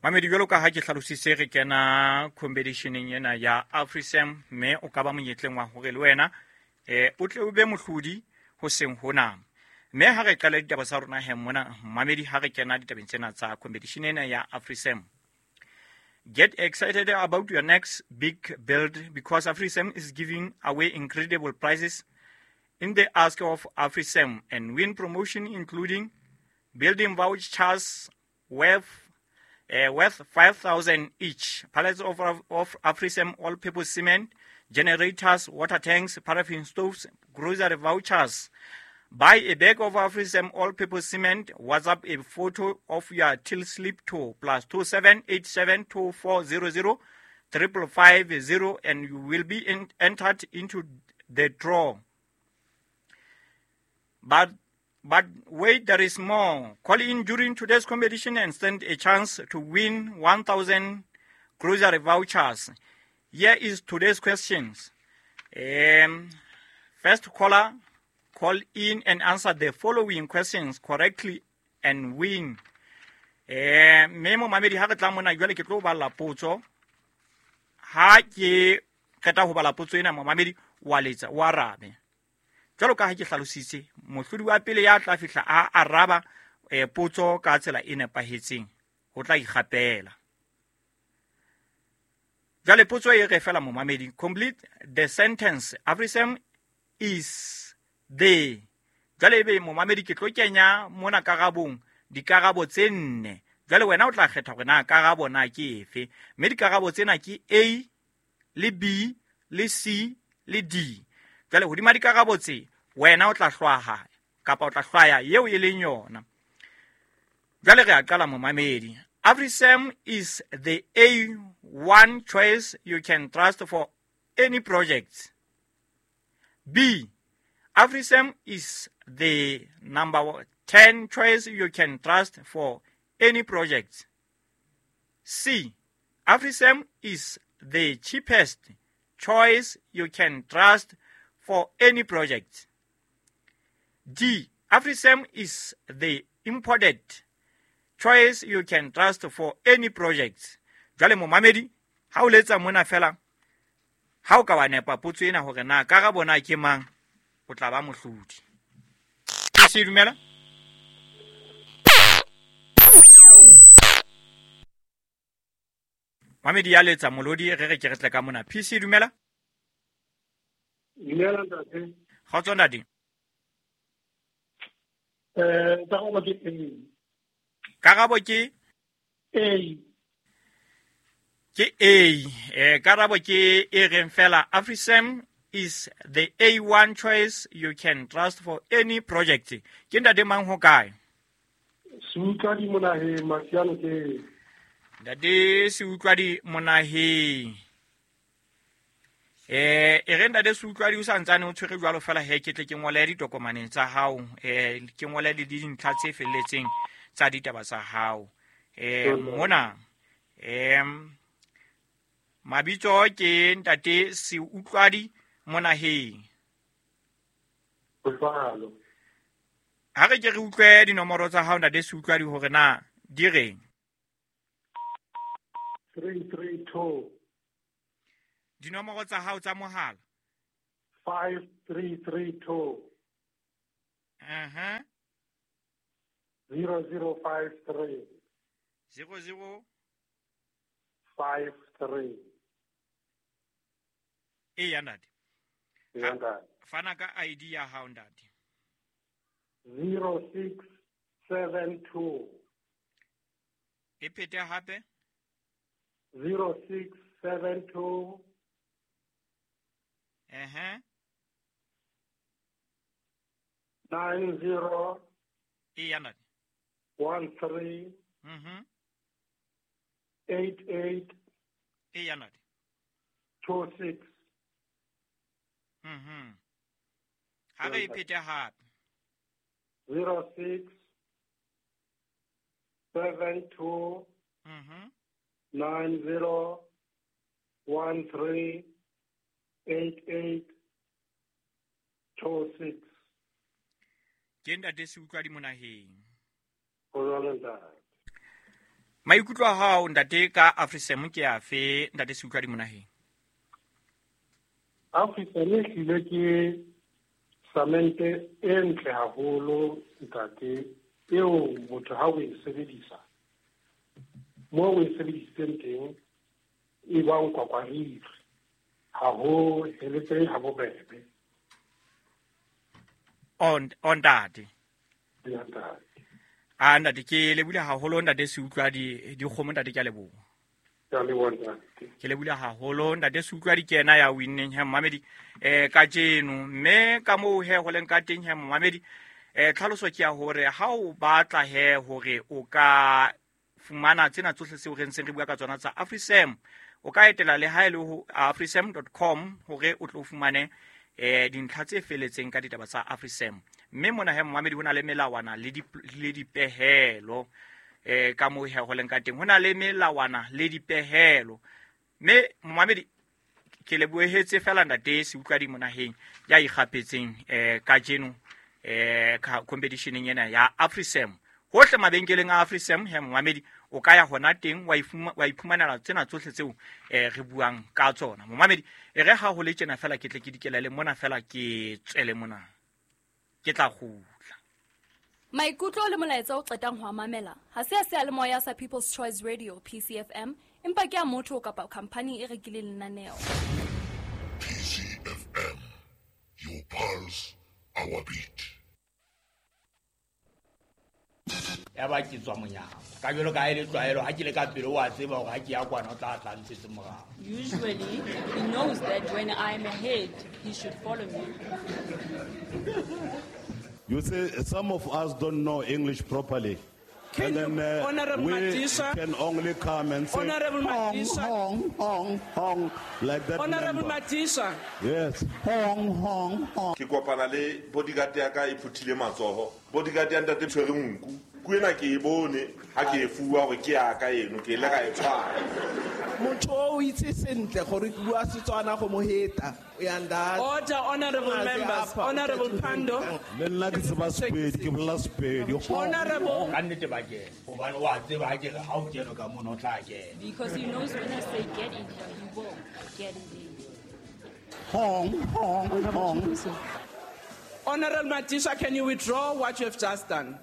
Mamedi, jwalo ka ha ke hlalositse, re kena competitioneng ena ya AfriSam, mme o ka ba monyetleng wa hore le wena o tle o be mohlodi ho seng hona. Mme ha re qala ditaba tsa rona he mona, mamedi, ha re kena ditabeng tsena tsa competition ena ya AfriSam. Get excited about your next big build because AfriSam is giving away incredible prizes in the Ask of AfriSam and win promotion, including building vouchers worth 5,000 each, pallets of AfriSam all-purpose cement, generators, water tanks, paraffin stoves, grocery vouchers. Buy a bag of AfriSam all-purpose cement. WhatsApp a photo of your till slip to +27 87 2400 5550, and you will be entered into the draw. But wait, there is more. Call in during today's competition and stand a chance to win 1,000 grocery vouchers. Here is today's questions. First caller, call in and answer the following questions correctly and win. Mme momamedi, ha re tla mona jwale, ke tlo bala potso. Ha ke qeta ho bala potso ena, momamedi wa letsa, o arabe. Jwalo ka ha ke hlalositse, mohlodi wa pele ya tla fihla a araba potso ka tsela e nepahetseng, ho tla ikgapela. Jwale potso e re fela, momamedi, complete the sentence: AfriSam is the. Jwale ebe, momamedi, ke tlo kenya mona karabong dikarabo tse nne. Jwale wena o tla kgetha hore na karabo na ke efe, mme dikarabo tsena ke A le B le C le D. Jwale hodima dikarabo tse, wena o tla hlwaha kapa o tla hlwaya eo e leng yona. Jwale re a qala, momamedi. AfriSam is the A1 choice you can trust for any project. B, AfriSam is the number 10 choice you can trust for any project. C, AfriSam is the cheapest choice you can trust for any project. D, AfriSam is the imported choice you can trust for any project. Jwale momamedi, ha o letsa mona fela, ha o ka wa nepa potso ena hore na karabo na ke mang, o tla ba mohlodi. Se dumela? Mamedi ya letsa molodi, re re ke re tle ka mona. PC, dumela? Dumela, ntate. Kgotso, ntate. Karabo ke A. Karabo ke? A. Ke A. Karabo ke e reng fela AfriSam is the A1 choice you can trust for any project. Ke ntate mang, ho kae? Seutlwadi Monaheng, Masiano ke. Ntate Seutlwadi Monaheng. E re, ntate Seutlwadi, o santsane o tshwere jwalo fela he, ke tle ke ngole ditokomaneng tsa hao, ke ngole le dintlha tse felletseng tsa ditaba tsa hao. Mona mabitso ke ntate Seutlwadi Monaheng. Jwalo. Ha re ke re utlwe dinomoro tsa hao, ntate Seutlwadi, hore na di reng. 332. Dinomoro tsa hao tsa mohala. 5332. 0053. 00 53. E ya, ntate. Ya, ntate. Fana ka ID ya hao, ntate. 0672. E phete hape. 0672. 90. E ya, ntate. 13. 88. E ya, ntate. 26. Ha re e phete hape. 0672. 90 13 88 26. Ke ntate Seutlwadi Monaheng. Ho jwalo, ntate. Maikutlo a hao ntate ka AfriSam ke afe, ntate Seutlwadi Monaheng? AfriSam e hlile ke samente e ntle haholo ntate, eo motho ha o e sebedisa moo o e sebedisitseng teng e bang kwakwariri, ha ho heletsehe ha bobebe. On ntate. Ya ntate. A ntate ke lebule haholo ntate Seutlwadi dikgomo ntate, ke a leboha. Ke a leboha ntate. Ke lebule haholo ntate Seutlwadi, ke yena ya winneng he mmamedi kajeno. Mme ka moo he ho leng ka teng he mmamedi, tlhaloso ke ya hore ha o batla he hore o ka fumana tsena tsohle tseo re ntseng re bua ka tsona tsa AfriSam, o ka etela le ha e le ho afrisam.com hore o tlo fumane dintlha tse feletseng ka ditaba tsa AfriSam. Mme mona he mmamedi ho na le melawana le dipehelo, ka moo he ho leng ka teng ho na le melawana le dipehelo. Mme mmamedi ke lebohetse fela ntate Seutlwadi Monaheng ya ikgapetseng kajeno competitioneng ena ya AfriSam. Hohle mabenkeleng a AfriSam he mmamedi o ka ya hona teng wa iphumanela tsena tsohle tseo re buang ka tsona. Momamedi e re ha ho le tjena fela ke tle ke dikelele mona fela ke tswele mona, ke tla kgutla. Maikutlo le molaetsa o qetang ho mamela ha se a seyalemoya sa People's Choice Radio PCFM, empa ke a motho kapa company e rekileng lenaneo. PCFM, your pulse, our beat. Ya ba ke tswa monyako ka jwalo ka e le tlwaelo, ha ke le ka pele wa tseba hore ha ke ya kwana o tla tla ntshetse morao. Usually he knows that when I'm ahead he should follow me. You see, some of us don't know English properly. Can and then Honorable we Madisha, can only come and say Honorable hong, Madisha, hong, hong, hong, like that. Honorable Madisha. Yes. Hong, hong, hong. Ke kopana le bodyguard ya ka e phuthile matsoho. Bodyguard ya ntate tshwere nku. Ku ena ke e bone ha ke e fuwa hore ke ya ka eno, ke ile ka e tshwara. Motho o itse sentle gore ke bua Setswana go mo heta. Order, honorable members. Honorable Pando. Le nna ke tseba Sepedi, ke bolela Sepedi. Honorable. Ka nnete ba kena, hobane wa tseba ha ke re ha o kene ka mono o tla kena. Because he knows when I say get in here, he will get in there. Hong, hong, hong. Honorable Madisha, can you withdraw what you have just done?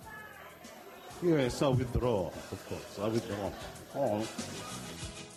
Yes, I withdraw, of course. I withdraw. Hong.